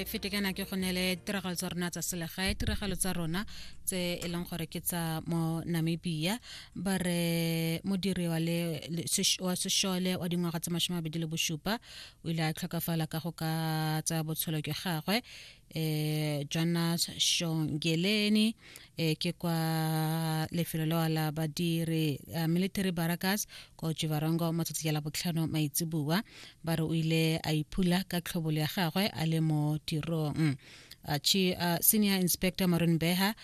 fete kana ke go nele tiragalo tsa rona tsa selegae, tiragalo tsa rona tse e leng gore ke tsa mo Namibia. Ba re modiri wa le wa sešole wa dingwaga tse 27 o ile a tlhokafala ka go ka tsaya botshelo jwa gagwe. Jonas Shongeleni ke kwa lefelo leo la badiri military barracks ko Otjiwarongo mo tsatsi ya Labotlhano maitseboa. Ba re o ile a iphula ka tlhobolo ya gagwe a le mo tirong. Senior Inspector Maureen Beha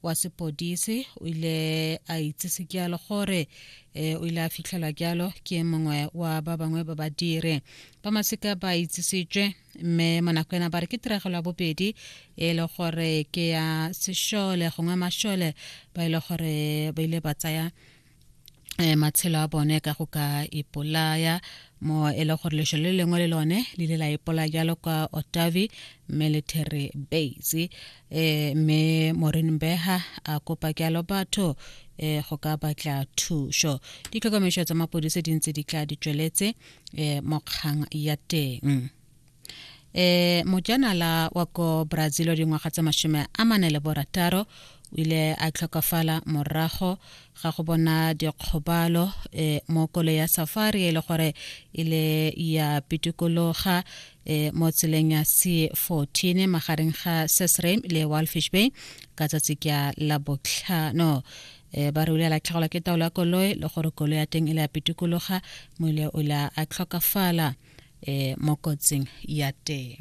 wa sepodisi o ile a itsise jalo gore o ile a fitlhelwa jalo ke mongwe wa ba bangwe ba badiri ba masika ba itsisitswe, mme mo nako ena ba re ke tiragalo ya bobedi e le gore ke ya sešole gongwe mašole ba ile gore ba ile ba tsaya matshelo a bone ka go ka ipolaya, mo e le gore lesho le lengwe le lone le ile la ipolaya jalo kwa Otavi Military Base. Mme Maureen Beha a kopa jalo batho go ka batla thuso. Ditlhokomediso tsa mapodisi di ntse di tla di tsweletse mo kgang ya teng. Mojanala wa ko Brazil wa dingwaga tse 46 o ile a tlhokafala morago ga go bona dikgobalo mo koloi ya safari e le gore e le ya pitikologa mo tseleng ya C14 magareng ga Sesriem le Walfish Bay ka tsatsi kya Labotlhano. Ba re o ile a latlhegelwa ke taolo ya koloi le gore koloi ya teng e le ya pitikologa, mo ile o ile a tlhokafala mo kotsing ya teng.